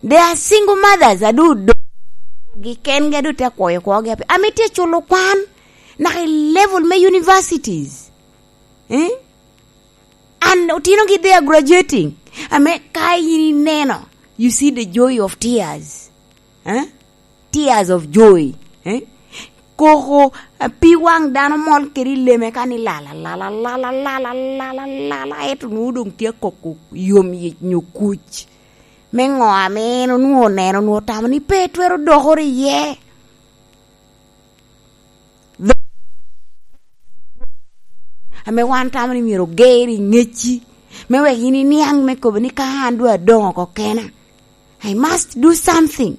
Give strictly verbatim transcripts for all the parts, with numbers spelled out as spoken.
They are single mothers, adu do gi kengi, adu te kwoyo kwogi ape. Ame tye culo kwan, naka i level me universities. Eh? And otinogi, they are graduating. Ame ka yin ineno, you see the joy of tears. Eh? Tears of joy. Eh? Koko, eh, pi waŋ dano mol kede i leme ka ni lala, lala, lala, lala, lala, lala, ento nwoŋo doŋ tye akoko yom yic nyo kuc. Me ŋo ame en onwoŋo oneno, onwoŋo tamo ni pe twero dokoro iye. Ame wan tamo ni myero oger i ŋecci, me wek yin iniaŋ me kobo ni ka an doŋ adoŋo oko kena, I must do something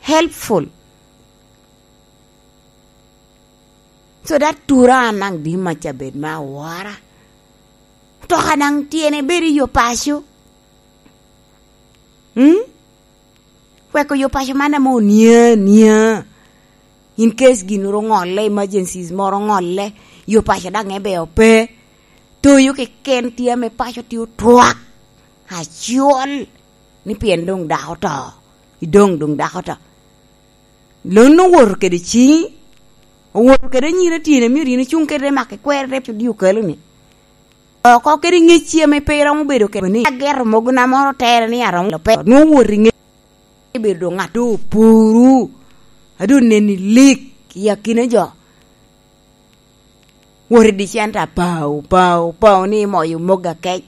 helpful. So that tura an daŋ di maca bed me awora. Toka daŋ tyene bedo i yo paco. Hmm? Weko yo paco man ame onia nia. In case gin oro oŋolle, emergencies moro oŋolle, yo paco daŋ ebe ope. Toyo keken tye ame paco tye otwak. Acol. Ni pien doŋ dako oto. Idoŋ doŋ dako oto. Lon owoto kede ciŋi, owoto kede anyira tyene, myero yin icuŋ kede mak ikwere rep odi okalo ni. Oko kede ŋecci ame pe iromo bedo kede ni ageto mogona moro tere ni aromo lo pe. Nwoŋo owoto i ŋecci bedo ŋat doŋ opuru, a doŋ neni lik i akina jo. Wot i dicenta pao, pao, pao ni imoyo mogo akec.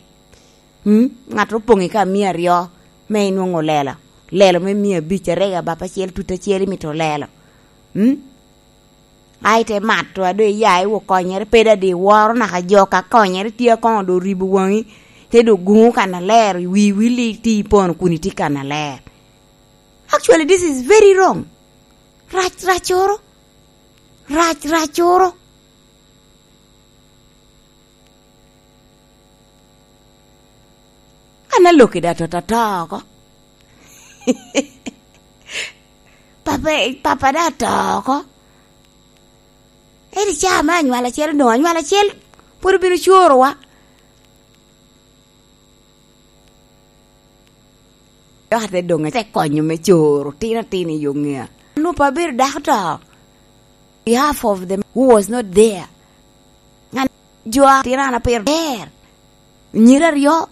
Hmm? Ŋat opoŋ i ka mia aryo, me inwoŋo lelo. Lelo me mia abic, arega bap acel, tut acel imito lelo. Hmm? Ai te mato, a doŋ iya iwo konyere, pe dadi iworo naka jo ka konyere tye akoŋo doŋ ribo waŋi, te doŋ guŋo kannaler, wi wili iti ipono kun iti kannaler. Actually, this is very wrong. Rac, racoro. Rac, racoro. An alokki da tota to oko. Papa, papa da to oko. Eri ca me anywal acel, doŋ anywal acel pwod obino corowa. Dok ate doŋ ate konyo me coro tino tino i yo ŋea. Nwoŋo pe abedo dako to. Behalf of the man who was not there. Ngan jo a tino an apiro ber. Nyira aryo.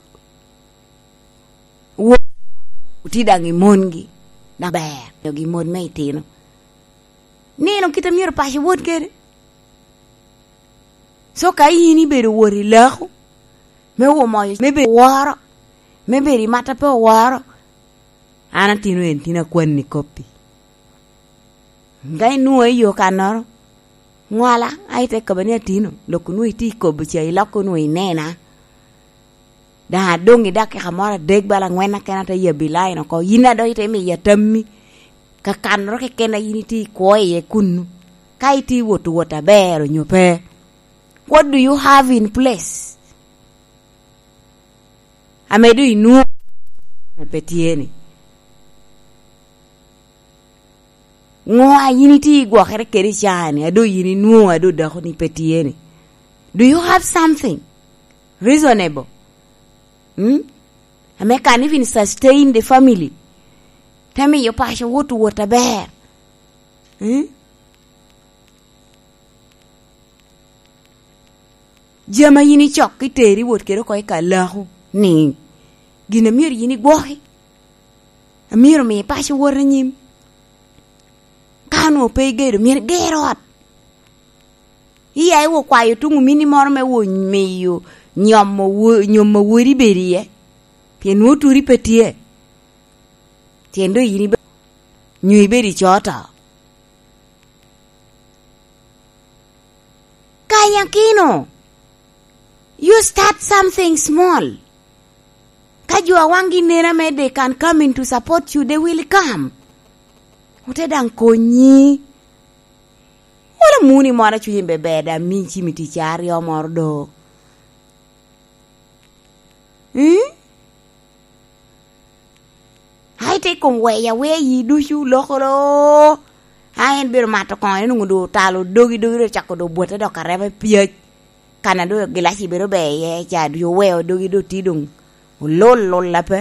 Wo-, oti daŋ i mongi. Daŋ ber. Nyogi mon me itino. Nino kit a myero paco wot kede. So ka in ibedo wot i lako, me wo moyo, me bedo woro, me bedo i mat a pe oworo, an atino en tin akwanni koppi. Ka inwoŋo i yo kannoro, ŋwala, a ite kobo ni atino, lok onwoŋo itye i kobo ca, iloko onwoŋo inena. Daŋ adoŋ i dakika moro adek bala angwen akena te yabbi lain oko. Yin a dok ite miya tammi. Kakannoro keken a yin itye i kwo iye kunnu. Ka itye i wot wot aber onyo pe. What do you have in place? Ame doŋ inwoŋo pe tye ni. Ŋo a yin itye i gwokere kede i caa-ni, a doŋ yin inwoŋo, a doŋ dako-ni pe tye ni? Do you have something reasonable? Hmm? Ame can even sustain the family. Te miyo paco wot wot aber. Hmm? Jami a yin icok iteri wot kede oko i ka laku ni gin a myero yin igwoki, a myero mi paco wot anyim. Ka onwoŋo pe igedo, myero iger ot. Iya iwo kwayo tuŋ omini moro me wo miyo nyomo wo-, nyomo wodi bedo iye. Pien nwoŋo turi pe tye. Tyen doŋ yin ibe-, nyo ibedo i coo to. Kanyakino, you start something small. Ka jo a waŋgi nen ame they can come in to support you, they will come. Ote daŋ konyi. Wala muni moro a cunye beber daŋ mi cimi tic aryo moro do. Mm? Ai te kom weya weya yi ducu lokolo. A en bino mato koŋe, nwoŋo doŋ otalo dogi, dogi doŋ ocako doŋ bwote dok arema i pyec. Kan a doŋ gilaci bedo ber iye ca, doŋ oweo dogi doŋ tye doŋ olol lol ape.